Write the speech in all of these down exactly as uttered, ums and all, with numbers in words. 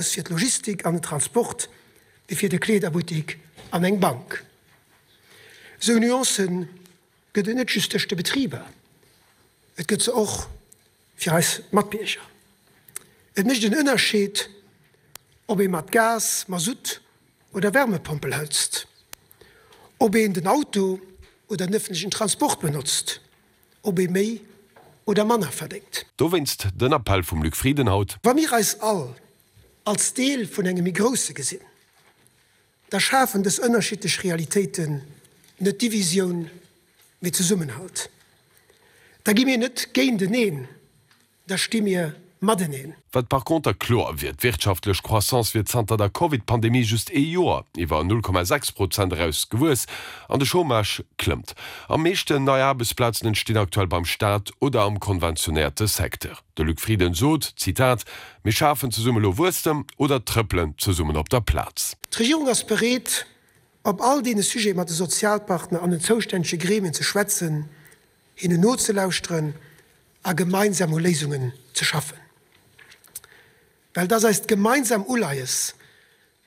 Fir d'Logistik an den Transport wéi fir de Kleederbuttik an eng Bank. Esou Nuancë gëtt et net just tëscht de Betriber, et gëtt se och fir eis Matbierger. Et mécht en Ënnerscheed, ob ee mat Gas, Masutt oder Wärmepompel hëtzt, ob een den Auto oder den ëffentlechen Transport benotzt, ob ee méi oder manner verdéngt. Dowéinst den Appell vum Luc Frieden haut. Wa mir eis all als Deel vun engem méi Grousse gesinn, da schafen dës ënnerschiddlech Realitéiten net Divisioun, mee Zesummenhalt. Da gi mir net géinteneen, da sti mir mateneen. Wat par conter kloer wier, D'wirtschaftlech Croissance wier zanter der Covid-Pandemie just ee Joer iwwer null Komma sechs Prozent eraus gewuess an de Chômage klëmmt. Am meeschten nei Aarbechtsplazen entstinn aktuell beim Staat oder am konventionéierte Secteur. De Luc Frieden sot, Zitat, Mir schafen zesumme elo Wuesstem oder trëppelen zesummen op der Plaz. D'Regierung ass bereet, op all deene Sujete mat de Sozialpartner an den zoustännege Gremien ze schwätzen, hinnen nozelauschteren a gemeinsam u Léisungen ze schaffen. Well et ass eist gemeinsam Uleies,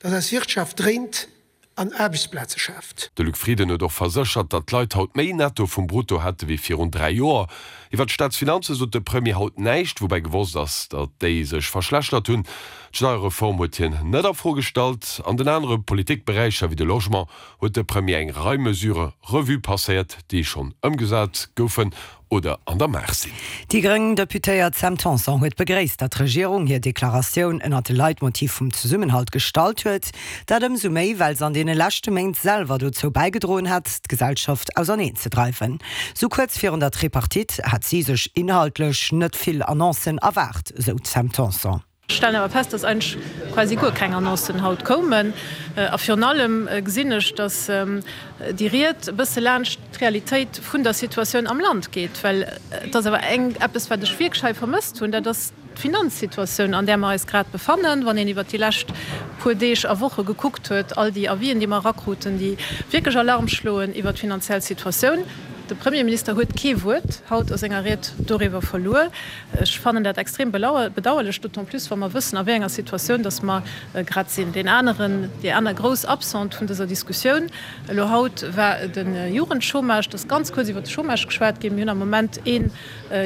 dass eis Wirtschaft dréint an Aarbechtsplaze schaaft. De Luc Frieden huet och verséchert, datt d'Leit haut méi Netto vum Brutto hätte wéi virun dräi Joer. Iwwer d'Staatsfinanze sot de Premier haut näischt, woubäi gewosst ass, datt déi sech verschlechtert hunn. D'Steierreform huet hien net a Fro gestallt. An den anere Politikberäicher wéi de Logement huet de Premier eng Rei Mesurë Revue passéiert, déi schonn ëmgesat goufen oder an der Maach sinn. Déi gréng Deputéiert Sam Tanson huet begréisst, datt d'Regierung hir Deklaratioun ënnert de Leitmotiv vum Zesummenhalt gestallt huet. Dat ëmsou méi, well se an deene leschte Méint selwer dozou bäigedroen hätt, d'Gesellschaft auserneen ze dreiwen. Sou kuerz virun der Tripartite hätt si sech inhaltlech net vill Annoncen erwaart, sou d'Sam Tanson. Ech stellen awer fest, dass eigentlech quasi guer keng Annoncen haut koumen. A virun allem gesinn ech, dass déi Ried e bësse laanscht d'Realitéit vun der Situatioun am Land geet. Well et ass awer eng, eppes, wat ech wierklech hei vermësst hunn, dat ass d'Finanzsituatioun, an där mer eis grad befannen. Wann een iwwert déi lescht puer Deeg a Woche gekuckt huet, all déi Avisen, déi mer erakruten, déi wierklech Alarm schloen iwwert d'finanziell Situatioun, De Premierminister huet kee Wuert haut a senger Ried doriwwer verluer. Ech fannen dat extrem bedauerlech, d'autant plus wa mer wëssen, a wéi enger Situatioun datt mer grad sinn. Deen aneren, déi aner grouss Absente vun dëser Diskussioun elo haut war de Jugendchômage. Et ass ganz kuerz iwwert de Chômage geschwat ginn. Mir hunn am Moment ee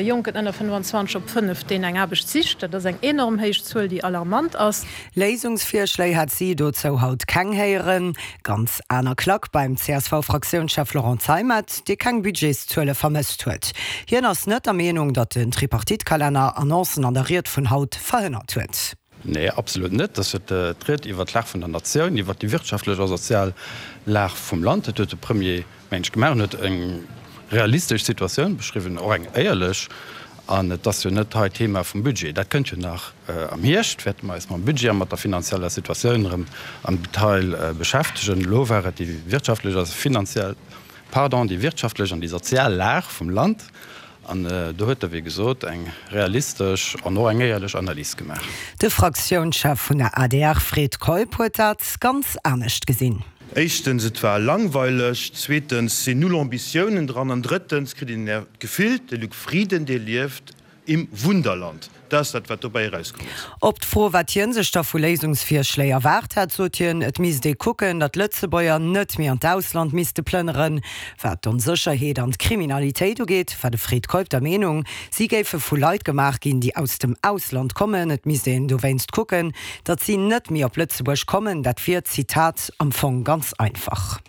Jonken ënner fënnwanzwanzeg op fënnef, deen eng Aarbecht sicht. Dat ass eng enorm héich Zuel, déi alarmant ass. Léisungsvirschléi hat si dozou haut keng héieren. Ganz aner Klack beim C S V-Fraktiounschef Laurent Zeimet, dee keng Budgetszuele vermësst huet. Hien ass net der Meenung, datt den Tripartite-Kalenner Annoncen an der Ried vun haut verhënnert huet. Nee, absolut net. Dat huet d'Ried iwwert d'Lag vun der Natioun, iwwert déi wirtschaftlech a sozial Lag vum Land. Dat huet de Premier, mengen ech, gemaach. En huet eng realistesch Situatioun beschriwwen, och eng éierlech. An et ass jo net hei d'Thema vum Budget. Dat kënnt jo nach am Hierscht, wäerte mer eis mam Budget a mat der finanzieller Situatioun erëm am Detail beschäftegen. Elo war et déi wirtschaftlech a finanziell, pardon, déi wirtschaftlech an déi sozial Lag vum Land. An do huet e, wéi gesot, eng realistesch an och eng éierlech Analys gemaach. De Fraktiounschef vun der A D R Fred Keup huet dat ganz anescht gesinn. Éischtens, et war langweileg, zweetens sinn null Ambitiounen dran an drëttens kritt een d'Gefill, de Luc Frieden, dee lieft im Wunderland. Dat ass dat, wat dobäi erauskomm ass. Op d'Fro, wat hie sech da vu Léisungsvirschléi erwaart hätt, sot hien, et misst ee kucken, datt Lëtzebuerger net méi an d'Ausland misste plënneren. Wat d'Onsécherheet an d'Kriminalitéit ugeet, war de Fred Keup der Meenung, si géife vu Leit gemaach ginn, déi aus dem Ausland kommen. Et misst een dowéinst kucken, datt si net méi op Lëtzebuerg kommen. Dat wier, Zitat, am Fong ganz einfach.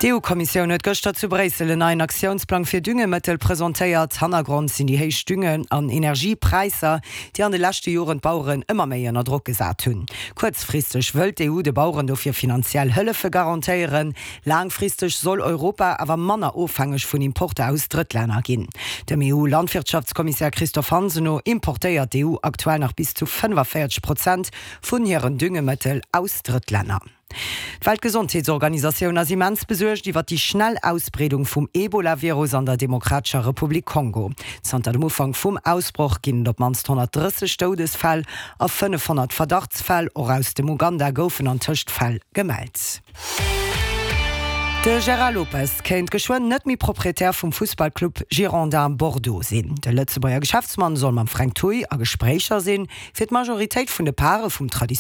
D'E U-Kommissioun huet gëschter zu Bréissel en neien Aktiounsplang fir Düngemëttel presentéiert. Hannergrond sinn déi héich Dünge an Energiepräisser, déi an de leschte Joren d'Baueren ëmmer méi ënner Drock gesat hunn. Kuerzfristeg wëllt d'E U de Baueren dofir finanziell Hëllefe garantéieren. Laangfristeg soll Europa awer manner ofhängeg vun Importer aus Drëttlänner ginn. Dem E U-Landwirtschaftskommissär Christophe Hansen no importéiert d'E U aktuell nach bis zu fënnefavéierzeg Prozent vun hiren Düngemëttel aus Drëttlänner. D'Weltgesondheetsorganisatioun ass immens besuergt iwwer déi schnell Ausbreedung vum Ebola-Virus an der Demokratescher Republik Kongo. Zanter dem Ufank vum Ausbroch ginn et op d'mannst honnertdrësseg Doudesfäll a fënnefhonnert Verdachtsfäll. Och aus dem Uganda goufen antëscht Fäll gemellt. De Gérard Lopez kéint geschwënn net méi Proprietär vum Fussballclub Girondins Bordeaux sinn. De Lëtzebuerger Geschäftsmann soll mam Frank Thuy a Gespréicher sinn, fir d'Majoritéit vun de Pare vum